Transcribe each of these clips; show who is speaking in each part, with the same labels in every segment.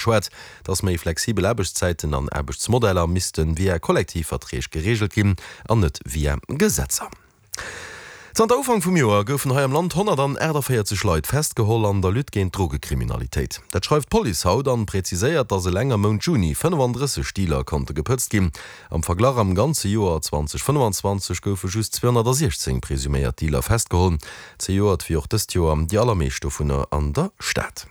Speaker 1: Schwat, dass méi flexibel Aarbechtszäiten an Aarbechtsmodeller misste via Kollektivverträg gereegelt ginn an net via Gesetzer. Zanter Ufank vum Joer goufen hei am Land 148 Leit festgeholl an der Lutte géint d'Drogekriminalitéit. Dat schreift d'Police haut an präziséiert, dass eleng am Mount Juni 35 Dealer konnte gepëtzt ginn. Am Verglach, am ganze Joer 2025 goufe just 216 presuméiert Dealer festgeholl. Zejoert wéi och dëst Joer déi allermeescht dovunner an der Stad.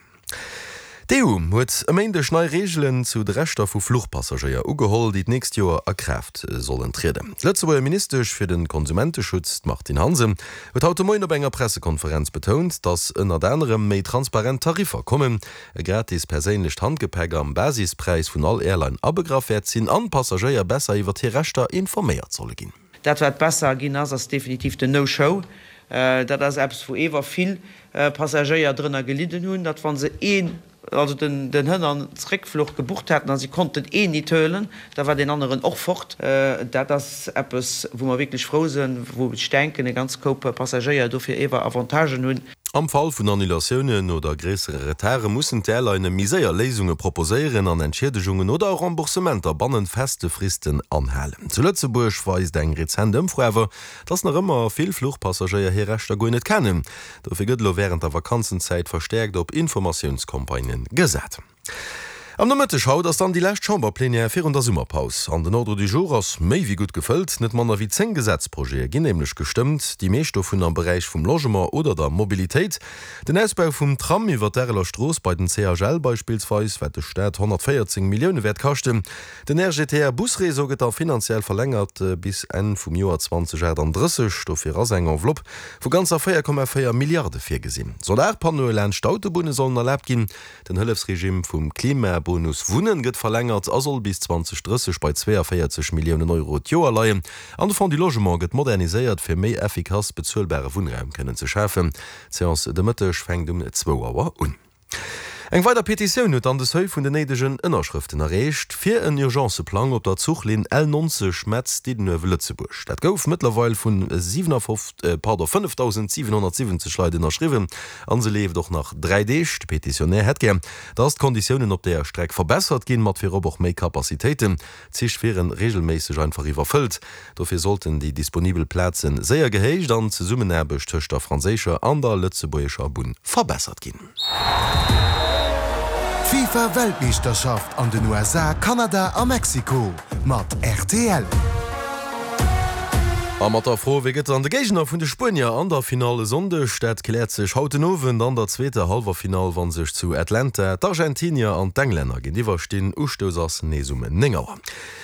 Speaker 1: D'EU huet e Méindeg nei Reegelen zu de Rechter vu Fluchpassagéier ugeholl, déi d'nächst Joer a Kraaft sollen trieden. D'Lëtzebuerger Ministesch fir de Konsumenteschutz, d'Martine Hansen, huet haut de Moien op enger Pressekonferenz betount, datt ënnert anerem méi transparent Tariffer kommen, e gratis perséinlecht Handgepäck am Basispräis vun all Airline abegraff wäert sinn an d'Passagéier besser iwwer hir Rechter informéiert solle ginn.
Speaker 2: Dat wat besser ginn ass, ass definitiv den No-Show. Dat ass eppes wou ewer vill Passagéier drënner gelidden hunn, datt wa se een, also den Hënn an Zréckfluch gebucht haten a si konnten een nit huelen, da war deen aneren och fort. Dat ass eppes wou mer wierklech frou sinn, wou ech denken e ganz Koup Passagéier dofir ewer Avantagen hunn.
Speaker 1: Am Fall vun Annulatiounen oder gréissere Retarde mussen d'Airlinë méi séier Léisunge proposéieren an Entschiedegungen oder Remboursementer bannent feste Fristen anhalen. Zu Lëtzebuerg weist eng rezent Ëmfro awer, dass nach ëmmer vill Fluchpassagéier hir Rechter guer net kennen. Dofir gëtt elo wärend der Vakanzenzäit verstäerkt op Informatiounscampagnë gesat. Am Nomëtteg haut ass dann déi lescht Chamberplenière virun der Summerpaus. An den Ordre du jour ass méi wéi gutt gefëllt. Net manner wéi 10 Gesetzprojete ginn nämlech gestëmmt, déi meescht dovun am Beräich vum Logement oder der Mobilitéit. Den Ausbau vum Tram iwwer d'Areler Strooss bei den CHL beispillsweis, wat de Staat 114 Millioune wäert kaschten. Den RGTR-Busreseau gëtt da finanziell verlängert bis Enn vum Joer 2038. Dofir ass eng Enveloppe vu ganzer 4,4 Milliarde virgesinn. Solarpannoe laanscht d'Autobunne sollen erlaabt ginn. Den Hëllefsregime vum Klimabonus Wunnen gëtt verlängert a soll bis 2030 bei 42 Milliounen Euro d'Joer leien. An de Fonds du Logement gëtt moderniséiert, fir méi effikass bezuelbare Wunnraum kënnen ze schafen. D'Seance de Mëtteg fänkt um zwou Auer un. Eng weider Petitioun huet dann de Seuil vun den néidegen Ënnerschrëften erreecht, fir en Urgence-Plang op der Zuchlinn L 90 Metz-Diddenuewe-Lëtzebuerg. Dat gouf mëttlerweil vun 5.770 Leit ënnerschriwwen. An se leeft och nach 3 Deeg. De Petitionär hätt gär, dass d'Konditiounen op deeër Streck verbessert ginn, mat virop och méi Capacitéiten. D'Zich wieren reegelméisseg einfach iwwerfëllt. Dofir sollten déi disponibel Plaze séier gehéicht an d'Zesummenaarbecht tëscht der franséischer an der lëtzebuergescher Bunn verbessert ginn.
Speaker 3: D'FIFA Weltmeeschterschaft an den USA, Kanada a Mexiko mat rtl.
Speaker 1: A mat der Fro, Wie gëtt dann de Géigner vun de Spuenier an der Finall e Sonndeg? Dat kläert sech haut den Owend an der zweeter Hallwerfinall, wa sech zu Atlanta d'Argentinier an d'Englänner géintiwwer stinn. Ustouss ass nees um 9 Auer.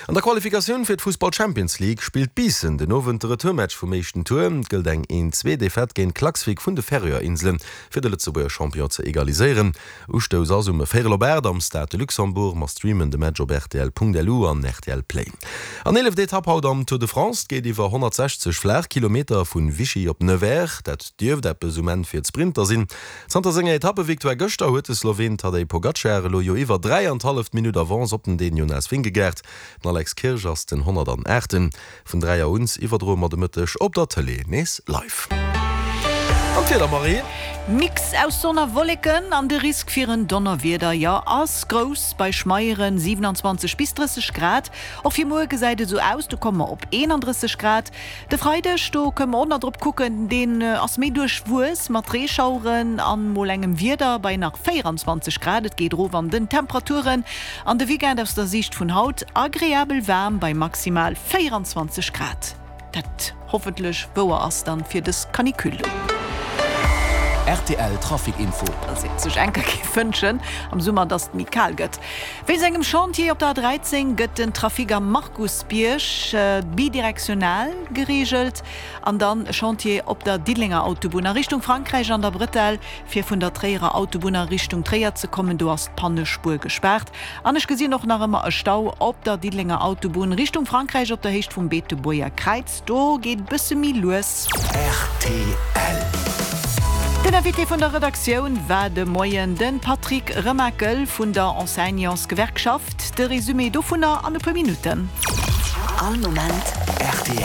Speaker 1: An der Qualifikatioun fir d'Fussball-Champions League spillt Biissen den Owend de Retourmatch vum éischten Tour. Et gëllt eng 1-Zwee-Defaite géint Klaksvik vun de Färöer Inselen, fir de Lëtzebuerger Champion ze egaliséieren. Ustouss ass um véierel op 8 am Stade de Luxembourg. Mer streamen de Match op rtl.lu an rtl Play. An eeleft Etapp haut am Tour de France. Et geet iwwer 160 flaach Kilometer vun Vichy op Nevers. Dat dierft eppes um Enn fir d'Sprinter sinn. Zanter senger Etappevictoire gëschter huet de Sloween Tadej Pogacar elo jo iwwer 3 an d'halleft Minutt Avance op den Dän Jonas Vingegaard. Den Alex Kirsch ass den 108. Vun 3 Auer un iwwerdroe mer de Mëtteg op der Tëlee nees live. An d'Wieder, Marie?
Speaker 4: Mix aus Sonn a Wolleken an de Risk fir en Donnerwieder, jo, ass grouss bei schmeieren 27 bis 30 Grad. Och fir muer gesäit et esou aus, do komme mer op 31 Grad. De Freideg, do kënne mer och nach drop kucken, deen ass méi duerchwuess mat Reeschaueren an mol engem Wieder bei nach 24 Grad. Et geet erof an den Temperaturen. An de Weekend aus der Siicht vun haut agreabel waarm bei maximal 24 Grad. Dat hoffentlech wouer ass dann fir dës Canicule.
Speaker 3: Rtl Trafic Info.
Speaker 4: Dass een sech enker géif wënschen am Summer, dass et méi kal gëtt. Wéinst engem Chantier op der A13 gëtt den Trafic am Markusbierg bidirektional gereegelt. An dann e Chantier op der Diddelenger Autobunn a Richtung Frankräich an der Bretelle. Fir vun der Tréierer Autobunn a Richtung Tréier ze kommen, do ass d'Pannespuer gespaart. An ech gesinn och nach ëmmer e Stau op der Diddelenger Autobunn Richtung Frankräich op der Héicht vum Beetebuerger Kräiz. Do geet et bësse méi lues.
Speaker 3: Rtl.
Speaker 4: Den Invité vun der Redaktioun war de Moien de Patrick Remakel vun der Enseignantsgewerkschaft. De Resumé dovunner an e puer Minutten.
Speaker 5: All Moment
Speaker 3: rtl.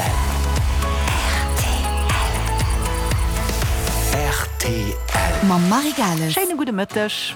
Speaker 3: Rtl.
Speaker 5: Mam Marie Gales.
Speaker 4: Schéine gudde Mëtteg.